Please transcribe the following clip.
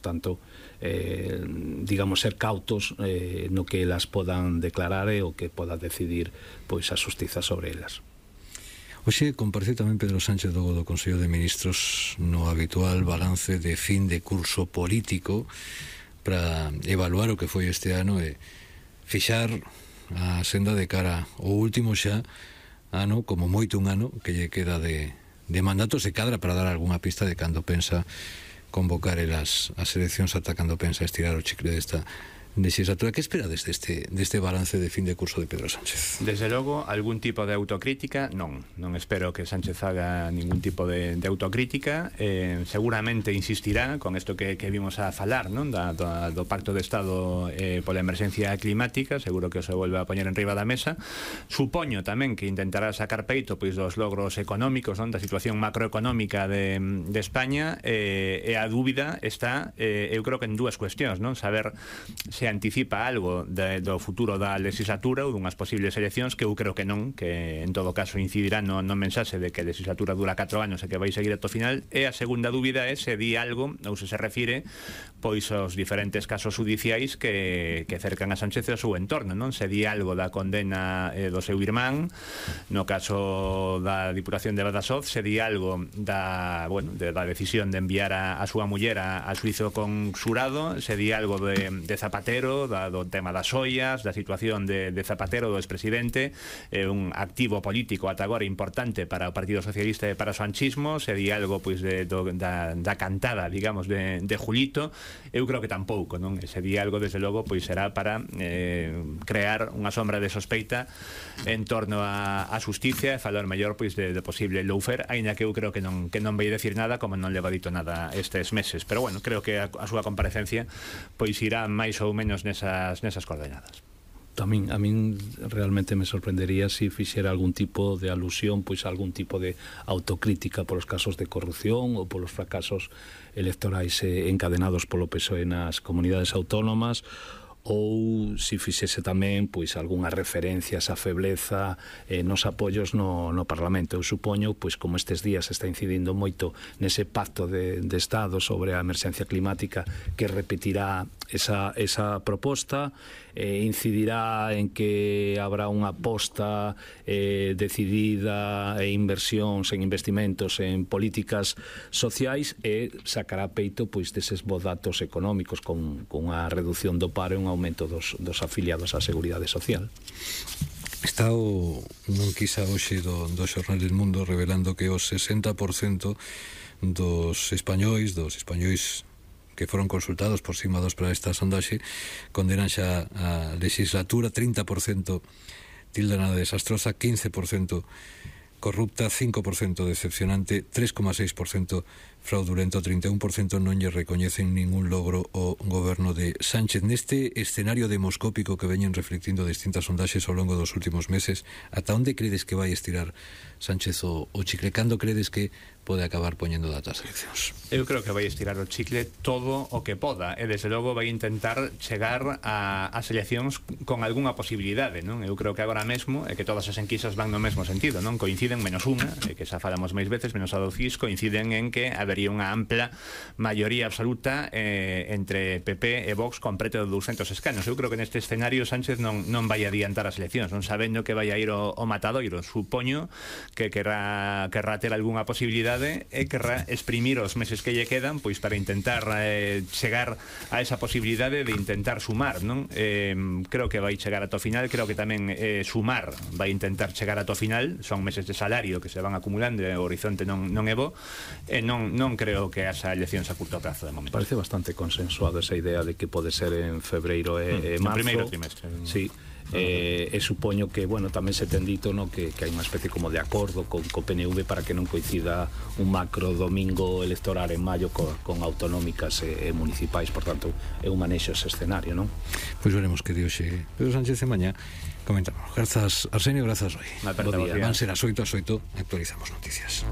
Tanto, digamos, ser cautos no que elas podan declarar e o que poda decidir pois a xustiza sobre elas. Hoxe compareceu tamén Pedro Sánchez do Consello de Ministros no habitual balance de fin de curso político para evaluar o que foi este ano e fixar a senda de cara ao último xa ano, como moito un ano que lle queda de mandato, se cadra para dar algunha pista de cando pensa convocar as eleccións, ata cando pensa estirar o chicle desta legislatura. Que esperades deste balance de fin de curso de Pedro Sánchez? Desde logo, algún tipo de autocrítica non espero que Sánchez haga ningún tipo de autocrítica. Seguramente insistirá con isto que vimos a falar, non? Do Pacto de Estado pola emerxencia climática. Seguro que se volve a poñer en riba da mesa. Supoño tamén que intentará sacar peito pois dos logros económicos, non? Da situación macroeconómica de España, e a dúbida está, eu creo que en dúas cuestións, non? Saber se anticipa algo do futuro da legislatura ou dunhas posibles eleccións, que eu creo que non, que en todo caso incidirá no mensaxe de que a legislatura dura 4 anos e que vai seguir ata o final. E a segunda dúbida é se di algo ou se refire pois aos diferentes casos judiciais que cercan a Sánchez e o seu entorno, non? Se di algo da condena do seu irmán, no caso da Diputación de Badajoz, se di algo da decisión de enviar a súa muller a xuizo con xurado, se di algo de Zapatero, do tema das ollas, da situación de Zapatero, do expresidente, un activo político ata agora importante para o Partido Socialista e para o sanchismo. Se di algo pois da cantada, digamos, de Julito. Eu creo que tampouco, non? Se di algo, desde logo, pois será para crear unha sombra de sospeita en torno a xusticia e falar mellor pois de posible lawfare, aínda que eu creo que non vai decir nada, como non leva dito nada estes meses. Pero bueno, creo que a súa comparecencia pois irá máis ou menos nesas coordenadas. A min realmente me sorprendería se fixera algún tipo de alusión, pois algún tipo de autocrítica polos casos de corrupción ou polos fracasos electorais encadenados polo PSOE nas comunidades autónomas, ou se fixese tamén pois algunha referencia a esa febleza nos apoios no Parlamento. Eu supoño, pois como estes días está incidindo moito nese pacto de Estado sobre a emerxencia climática, que repetirá esa proposta, incidirá en que habrá unha aposta decidida e inversións en investimentos en políticas sociais, e sacará peito pois deses bons datos económicos con unha reducción do paro e un aumento dos afiliados á Seguridade Social. Está un quizá hoxe do Xornal del Mundo revelando que o 60% dos españois que foron consultados por cima para esta sondaxe condenan xa a legislatura. 30% tildan a desastrosa, 15% corrupta, 5% decepcionante, 3,6% fraudulento, 31% non lle recoñecen ningún logro ao goberno de Sánchez. Neste escenario demoscópico que veñen reflectindo distintas sondaxes ao longo dos últimos meses, ata onde credes que vai estirar Sánchez o chicle? Cando credes que pode acabar poñendo datas eleccións? Eu creo que vai estirar o chicle todo o que poda, e desde logo vai intentar chegar ás eleccións con algunha posibilidade, non? Eu creo que agora mesmo é que todas as enquisas van no mesmo sentido, non? Coinciden, menos unha, que xa falamos máis veces, menos a do CIS, coinciden en que habería unha ampla maioría absoluta entre PP e Vox con preto de 200 escanos. Eu creo que neste escenario Sánchez non vai adiantar as eleccións, non sabendo que vai a ir o matadoiro. Supoño que querrá ter algunha posibilidade e querrá exprimir os meses que lle quedan pois para intentar chegar a esa posibilidade de intentar sumar, non? Creo que vai chegar ata o final. Creo que tamén sumar vai intentar chegar ata o final. Son meses de salario que se van acumulando e o horizonte non é bo, e non creo que esa eleccións a curto prazo de momento. Parece bastante consensuado esa idea de que pode ser en febreiro e marzo. No primeiro trimestre. Sí. E supoño que, bueno, tamén se ten dito, no, que hai unha especie como de acordo con PNV para que non coincida un macro domingo electoral en maio con autonómicas e municipais. Por tanto, é un manexo ese escenario, non? Pois veremos que dioxe Pedro Sánchez e mañá comentamos. Grazas, Arsenio, grazas, Roy. Van ser as 8 actualizamos noticias.